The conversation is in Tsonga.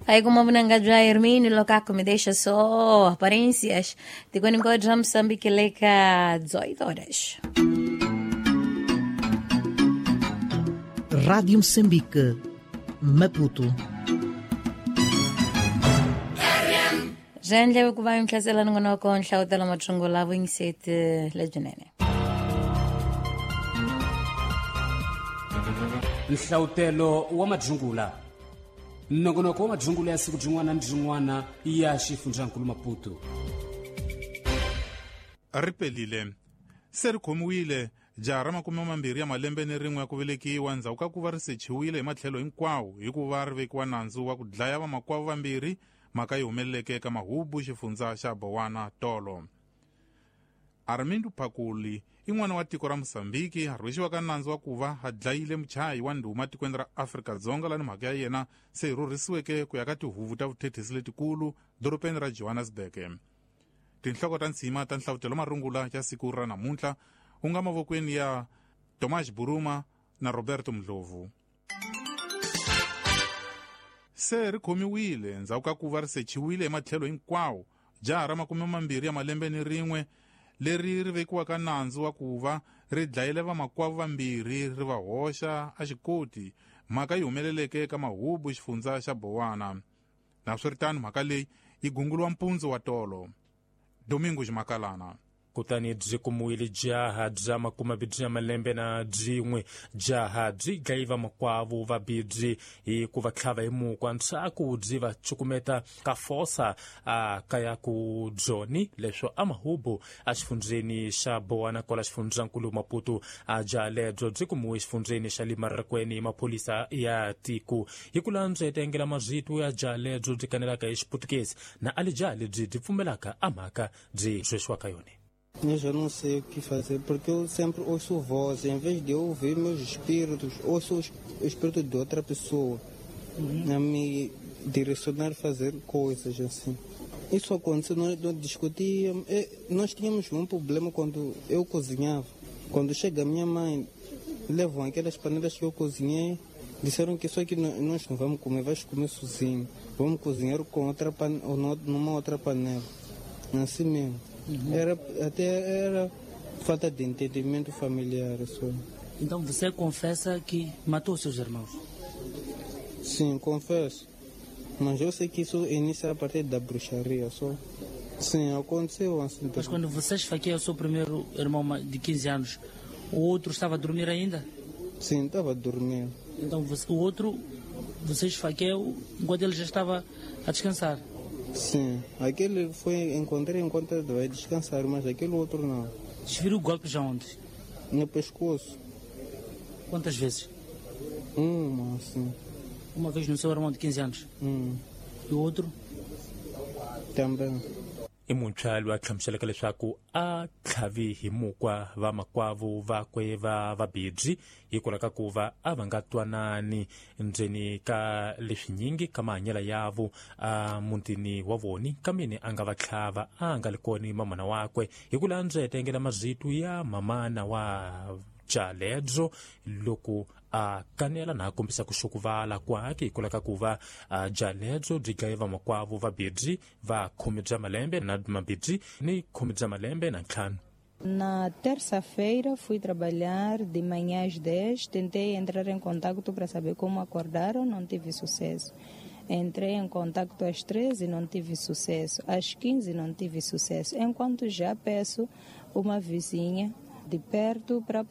Aí como vunanga Hermínio Locaco me deixa só aparências. Tikweni nkoja Moçambique leka 18 horas. Rádio Moçambique, Maputo. Zhendle ku va nhlasela nongonoko nhlawutelo mathungula vuyingiseti lebyinene. Nhlawutelo wa madzungula nongonoko wa madzungula ya siku byin'wana ni byin'wana ya xifundzankulu Maputo. Ri pelile se ri khomiwile jaha ra 21 ya malembe ni rin'we ya ku velekiwa ndzhaku ka ku va ri sechiwile hi matlhelo hinkwawo hi ku va ri vekiwa nandzu wa ku dlaya vamakwavo vambirhi, mhaka yi humeleleke eka Mahubu, xifundza xa Bowana tolo. Armindo Phakuli i n'wana wa tiko ra Mosambiki a rhwexiwaka nandzu wa ku va a dlayile muchayi wa ndhuma tikweni ra Afrika-Dzonga lani mhaka ya yena se yi rhurhisiweke ku ya ka tihuvu ta vuthethisi letikulu dorobeni ra Johannesburg. Tinhloko ta ntshima ta nhlavutelo marungula ya siku ra namuntlha wu nga mavokweni ya Tomas Buruma na Roberto Mdlovu. Se ri khomiwile ndzhaku ka ku va ri sechiwile hi matlhelo hinkwawo jaha ra 21 ya malembe ni rin'we leri ri vekiwaka nandzu wa ku va ri dlayile vamakwavo vambirhi ri va hoxa a xikoti, mhaka yi humeleleke eka Mahubu, xifundza xa Bowana. Naswiritano mhaka leyi yi gunguliwa mpundzu wa tolo. Domingo Ximakalana. Kutani byi kumiwile jaha bya 21 ya malembe na byin'we. Jaha byi dlayi vamakwavo vabibyi hi ku va tlhava hi mukwa ntshaku byi va cukumeta ka fosa a kaya ku Joni leswo a Mahubu a xifundzeni xa Bowana kwala xifundzankulu Maputo. A jaha lebyo byi kumiwe xifundzeni xa Limarakweni maphorisa ya tiko hi ku landza etengela mazito ya jaha lebyo byi kanelaka hi Xiputukezi na ali jaha lebyi byi pfumelaka a mhaka byi rhwexiwaka yona. Eu já não sei o que fazer, porque eu sempre ouço voz. Em vez de eu ouvir meus espíritos, ouço o espírito de outra pessoa a me direcionar a fazer coisas assim. Isso aconteceu, nós discutíamos. Nós tínhamos um problema quando eu cozinhava. Quando chega a minha mãe, levam aquelas panelas que eu cozinhei, disseram que isso aqui nós não vamos comer, vais comer sozinho. Vamos cozinhar com outra ou numa outra panela. Assim mesmo. Era falta de entendimento familiar só. Então você confessa que matou seus irmãos? Sim, confesso. Mas eu sei que isso inicia a partir da bruxaria só. Sim, aconteceu assim. Mas quando você esfaqueia o seu primeiro irmão de 15 anos, o outro estava a dormir ainda? Sim, estava a dormir. Então o outro, você esfaqueou enquanto ele já estava a descansar? Sim, aquele foi, encontrei enquanto vai descansar, mas aquele outro não. Desferiu golpes aonde? No pescoço. Quantas vezes? Uma, sim. Uma vez no seu irmão de 15 anos? E o outro? Também. I muntshwa loyi a hlamuselaka leswaku a tlhavi hi mukwa vamakwavo vakwe va vabibyi hikwalaho ka ku va a va nga twanani ndzeni ka leswinyingi ka mahanyelo yavo a mutini wa voni kameni a nga va tlhava a nga li koni mamana wakwe hi ku landza etengela mazito ya mamana wa Jaledzo loko a kanela na a kombisa ku xukuvala kwake hikwalaho ka ku va Jaledzo byi dlaye vamakwavo vabibyi va 10 bya malembe na mabibyi ni 10 bya malembe na 5. Na terça-feira fui trabalhar de manhã às 10, tentei entrar em contato para saber como acordaram, não tive sucesso. Entrei em contato às 13, não tive sucesso, às 15 não tive sucesso. Enquanto já peço uma vizinha de perto para